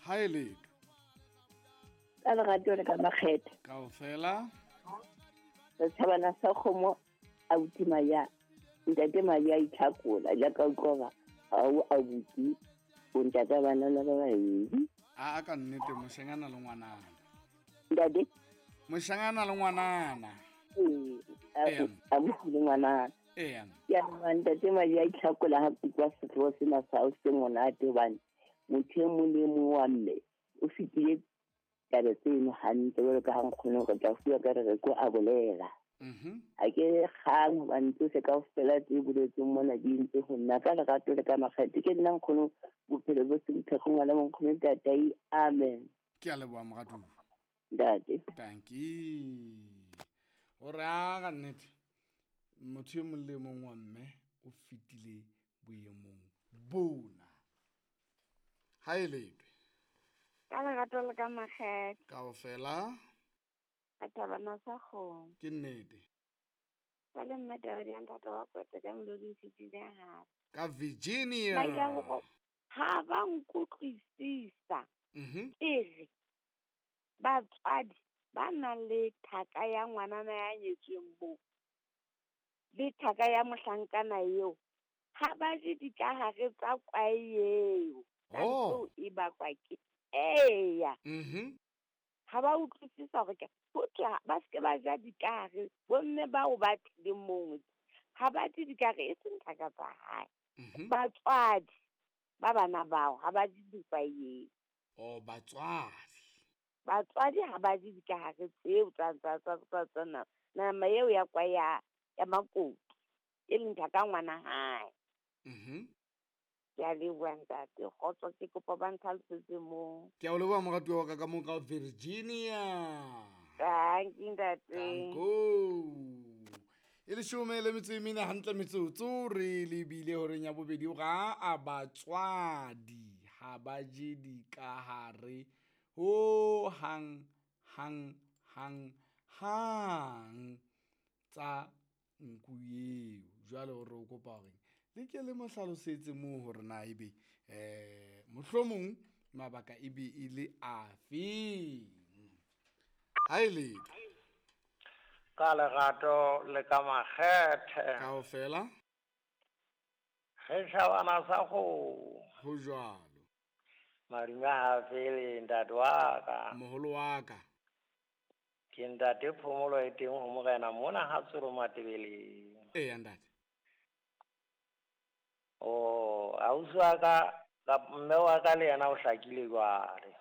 Ha e letho. Ka lerato le ka makgethe. Kaofela. Setjhabana sa kgomo abuti Maya. Ntate Maya itlhakola jaaka utlwa ga o abuti o ntata banana ba babedi. A ka nnete moshanyana le ngwanana. Ntate? Moshanyana le ngwanana. Ee, abuti le ngwanana. Ee. Ke a ntate Maya itlhakola ha kutlwa setlhogo sena sa o se monate hobane motho e mong le e mong wa mme o fetile taba tseno hantle jwalo ka ha nkgono re tla fuwa ka re re ko a bolela. Ha ke kgang hobane tsohle kaofela tse boletsweng mona di entse ho nna ka lerato le ka makgethe. Ke nna nkgono bophelo bo se bothekgo ngwana monkgono tatai. Amen. Ke a leboha moratuwa. Ntate. Tanki. O re a ka nnete motho e mong le mong wa mme o fetile boemong bona. Ha e letwe. Ka lerato le ka makgethe. Kaofela. Ka thabana sa kgomo. Ke nnete. Ba le mme taba ya ntate wa kwetse ka melodi e fetile hape. Ka Virginia. Ba ile go ha ba nkutlwisisa. Ke re batswadi ba nang le thaka ya ngwanana ya nyetsweng moo le thaka ya mohlankana eo ha ba je dikahare tsa kwae eo. Oh. E bakwa ke eya. Ha ba utlwisisa hore ke ho thwe ba se ke ba ja dikahare, bomme bao ba tlileng moo ha ba je dikahare e seng thaka tsa hae. Batswadi ba bana bao ha ba je dikwae eo. Oh, batswadi. Batswadi ha ba je dikahare tseo tsa tsa tsa tsa tsa nama eo ya kwae ya makoti e leng thaka ngwana hae. Ke a leboha ntate, kgotso, ke kopa ba ntlhalosetse moo. Ke a o leboha moratuwa wa ka ka moo ka Virginia. Thank you ntate. Tanko. E leshome le metso e mene hantle metsotso re lebile horeng ya bobedi ga a batswadi ha ba je dikahare ho hang hang hang hang tsa nku eo. Jwale o re o kopa hore le ke le mo hlalosetse moo hore na ebe mohlomong mabaka e be e le afeng. Ha e letho. Ka lerato le ka makgethe. Kaofela. Ge tjhabana sa kgomo. Ho jwalo. Madume ha fele ntate wa ka. Moholo wa ka. Ke ntate Phomolo e teng ho morena mona ha Tsoro Matebeleng. Eya ntate. Oh, ausi wa ka, mme wa ka le yena o hlakile jwale.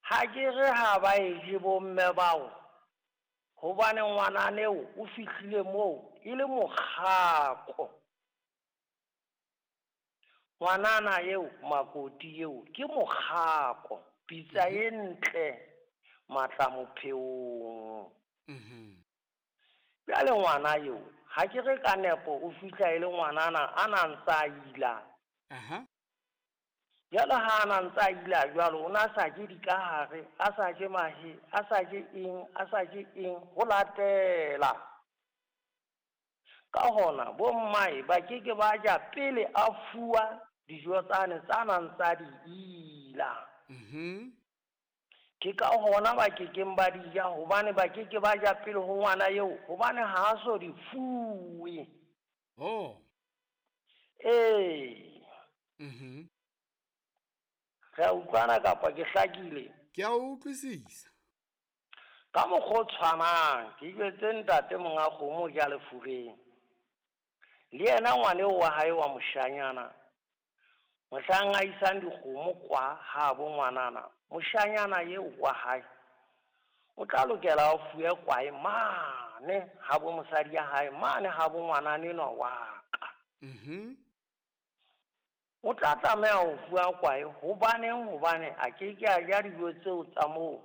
Ha ke re ha ba e je bomme bao, hobane ngwanane eo o fihlile moo e le mokgako. Ngwanana eo makoti eo ke mokgako, pitsa e ntle matla mopheong. Bjale ngwana eo ha ke re ka nepo o fihla e le ngwanana a na ntsa ila. Jwale ha a na ntsa ila jwalo o na sa je dikahare, a sa je mahe, a sa je eng, a sa je eng ho latela. Ka hona bo mmae ba ke ke ba ja pele a fuwa dijo tsane tsa nang tsa di ila. Ke ka hona ba ke keng ba di ja hobane ba ke ke ba ja pele ho ngwana eo hobane ha a so di fuwe. Oh. Ee. Re a utlwana kapa ke hlakile? Ke a utlwisisa. Ka mokgwa o tshwanang ke jwetse ntate monga kgomo ke a lefureng. Le yena ngwane wa hae wa moshanyana mohlang a isang dikgomo kwa ha bo ngwanana, moshanyana eo wa hae o tla lokela a fuwe kwae mane ha bo mosadi ya hae mane ha bo ngwanana enwa wa ka. O tla tlameha ho fuwa kwae hobaneng hobane a ke ke a ja dijo tseo tsa moo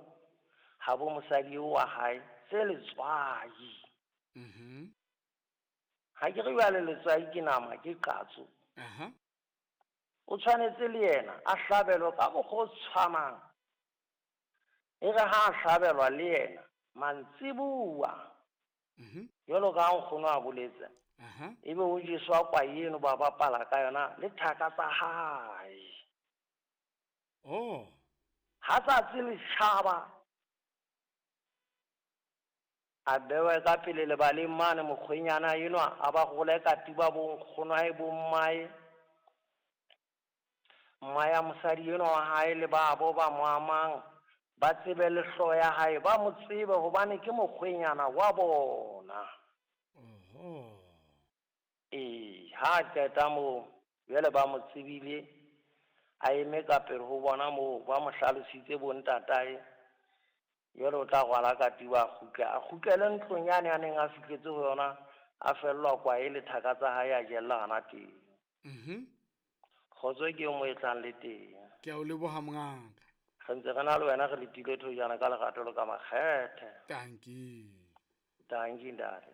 ha bo mosadi eo wa hae tse letswai. Ha ke re jwale letswai ke nama ke qatso. O tshwanetse le yena a hlabelwe ka mokgwa o tshwanang. E re ha a hlabelwa le yena mantsibuwa. Jwalo ka ha nkgono a boletse. Ebe o jeswa kwae eno ba bapala ka yona le thaka tsa hae. Ha tsatsi le tjhaba, a bewe ka pele lebaleng mane mokgwenyana enwa a ba role katiba bo nkgonwae bo mmae. Mma ya mosadi enwa wa hae le babo ba mo amang ba tsebe le hlooho ya hae, ba mo tsebe hobane ke mokgwenyana wa bona. Oho. Ee, ha a qeta moo jwale ba mo tsebile, a eme ka pele ho bona moo ba mo hlalositse bo ntatae. Jwale o tla rwala katiba a kgutle, a kgutlele ntlong yane a neng a fihletse ho yona, a fellwa kwae le thaka tsa hae a jella hona teng. Kgotso ke mo e tlang le teng. Ke a o leboha mongaka. Re ntse re na le wena re letile thojana ka lerato le ka makgethe. Dankie. Dankie ntate.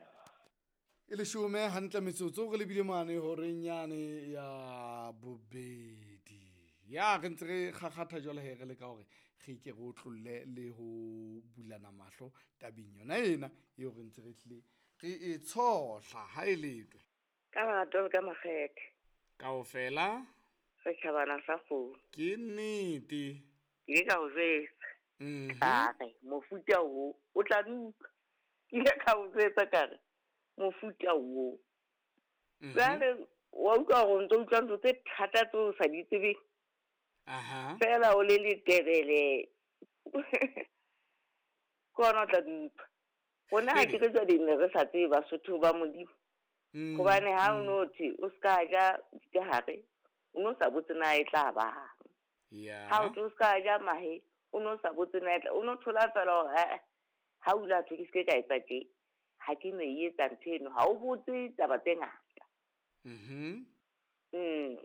E leshome hantle metsotso re lebile mane horeng yane ya bobedi. Ya re ntse re kgakgatha jwale he re leka hore re ke re otlolle le ho bulana mahlo tabeng yona ena eo re ntse re tlile re e tshohla ha e letwe. Ka lerato le ka makgethe. Kaofela Re tjhabana sa kgomo. Ke nnete. Ke ile ka o jwetsa. Ka re mofuta o o tla utlwa. Ke ile ka o jwetsa ka re mofuta o. Jwale wa utlwa hore o ntso utlwa ntho tse thata tseo o sa di tsebeng. Aha. Fela o le letebele. Ke hona o tla di utlwa. Rona ha ke re jwale ne re sa tsebe Basotho ba Modimo. Hobane ha o no thwe o ska ja dikahare, o no sa botse na e tla bang. Ha o thwe o ska ja mahe, o no sa botse na e tla, o no thola fela hore ha ha o ile a thwe ke se ke ka etsa tje, ha ke no e etsa ntho eno, ha o botse taba tse ngata.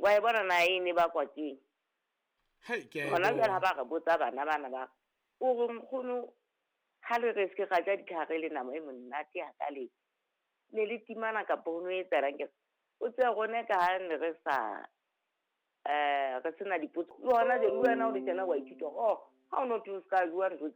Wa e bona na e ne bakwa keng? Hei, ke a e Hona jwale bona. ha ba re botsa bana bana ba re, o re nkgono ha le re se ke ra ja dikahare le nama e monate hakale, ne le timana kapa ho no etsahalang? Ke re, o tsebe rona ka ha ne re sa re sena dipotso. Le hona jwale le wena o le tjena wa ithuta hore, oh, ha o no thwe o ska bua ntho